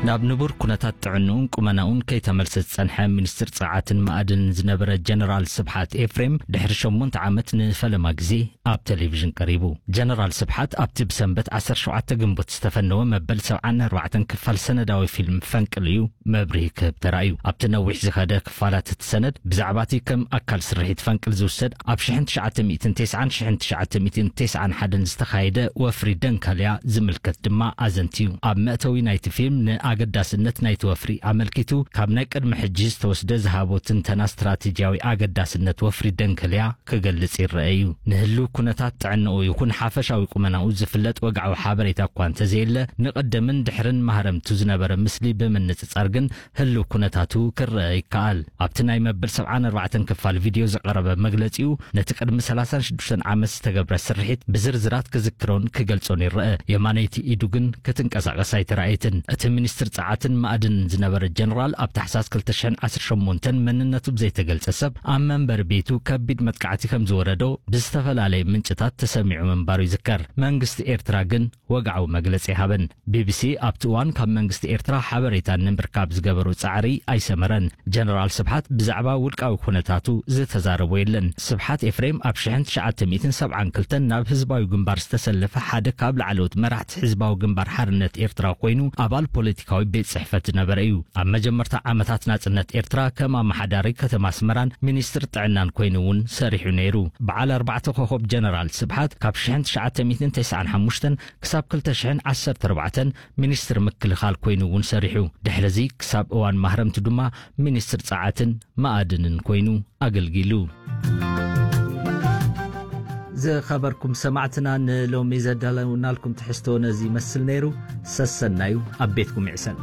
ናብ ንቡር ኩነታት ጥዕንኡን ቁመናኡን ከይተመልሰ ዝጸንሐ ሚኒስትር ጸዓትን ማዕድንን ዝነበረ ጀነራል ስብሓት ኤፍሬም፣ ድሕሪ ሸሞንተ ዓመት ንፈለማ ግዜ ኣብ ቴሌቪዥን ቀሪቡ። ጀነራል ስብሓት ኣብቲ ብሰንበት ዓሰርተ ሸውዓተ ግንቦት ዝተፈነወ መበል ሰብዓን ኣርባዕተን ክፋል ሰነዳዊ ፊልም ፈንቅል እዩ መብርሂ ክህብ ተራእዩ። ኣብቲ ነዊሕ ዝኸደ ክፋላት እቲ ሰነድ፣ ብዛዕባ እቲ ከም ኣካል ስርሒት ፈንቅል ዝውሰድ ኣብ ሽሕን ትሽዓተ ሚእትን ተስዓን ሽሕን ትሽዓተ ሚእትን ተስዓን ሓደን ዝተኻየደ ወፍሪ ደንከልያ ዝምልከት ድማ ኣዘንትዩ። ኣብ መእተዊ ናይቲ ፊልም ንኣገዳስነት ናይቲ ወፍሪ ኣመልኪቱ፣ ካብ ናይ ቅድሚ ሕጂ ዝተወስደ ዝሃቦ ትንተና ስትራቴጂያዊ ኣገዳስነት ወፍሪ ደንከልያ ክገልጽ ይረአ እዩ። ንህልው ኩነታት ጥዕንኡ ይኹን ሓፈሻዊ ቁመናኡ ዝፍለጥ ወግዓዊ ሓበሬታ እኳ እንተዘየለ፣ ንቐደምን ድሕርን ማህረምቱ ዝነበረ ምስሊ ብምንጽጻር ግን ህልው ኩነታቱ ክረአ ይከኣል። ኣብቲ ናይ መበል ሰብዓን ኣርባዕተን ክፋል ቪድዮ ዝቐረበ መግለጺኡ፣ ነቲ ቅድሚ ሰላሳን ሽዱሽተን ዓመት ዝተገብረ ስርሒት ብዝርዝራት ክዝክሮን ክገልጾን ይረአ። የማነይቲ ኢዱ ግን ክትንቀሳቐስ ኣይተራእየትን። እቲ ሚኒስትር ጸዓትን ማዕድንን ዝነበረ ጀነራል፣ ኣብ ታሕሳስ ክልተ ሽሕን ዓሰርተ ሸሞንተን መንነቱ ብዘይተገልጸ ሰብ ኣብ መንበሪ ቤቱ ከቢድ መጥቃዕቲ ከም ዝወረዶ ብዝተፈላለየ ምንጭታት ተሰሚዑ ምንባሩ ይዝከር። መንግስቲ ኤርትራ ግን ወግዓዊ መግለጺ ኣይሃበን። ቢቢሲ ኣብቲ እዋን ካብ መንግስቲ ኤርትራ ሓበሬታ ንምርካብ ዝገበሮ ጻዕሪ ኣይሰመረን። ጀነራል ስብሓት ብዛዕባ ውልቃዊ ኩነታቱ ዝተዛረቦ የለን። ስብሓት ኤፍሬም ኣብ ሽሕን ትሽዓተ ሚእትን ሰብዓን ክልተን ናብ ህዝባዊ ግንባር ዝተሰለፈ ሓደ ካብ ላዕለዎት መራሕቲ ህዝባዊ ግንባር ሓርነት ኤርትራ ኮይኑ፣ ኣባል ፖለቲካዊ ቤት ጽሕፈት ዝነበረ እዩ። ኣብ መጀመርታ ዓመታት ናጽነት ኤርትራ ከም ኣመሓዳሪ ከተማ ኣስመራን ሚኒስትር ጥዕናን ኮይኑ እውን ሰሪሑ ነይሩ። በዓል ኣርባዕተ ኮኾብ ጀነራል ስብሓት ካብ ሽሕን ትሽዓተ ሚእትን ተስዓን ሓሙሽተን ክሳብ ክልተ ሽሕን ዓሰርተ ኣርባዕተን ሚኒስትር ምክልኻል ኮይኑ እውን ሰሪሑ። ድሕሪ እዚ ክሳብ እዋን ማህረምቱ ድማ ሚኒስትር ጸዓትን ማዕድንን ኮይኑ ኣገልጊሉ። ዝኸበርኩም ሰማዕትና፣ ንሎሚ ዘዳለውናልኩም ትሕዝቶ ነዚ ይመስል ነይሩ። ሰሰናዩ ኣብ ቤትኩም ይዕሰል።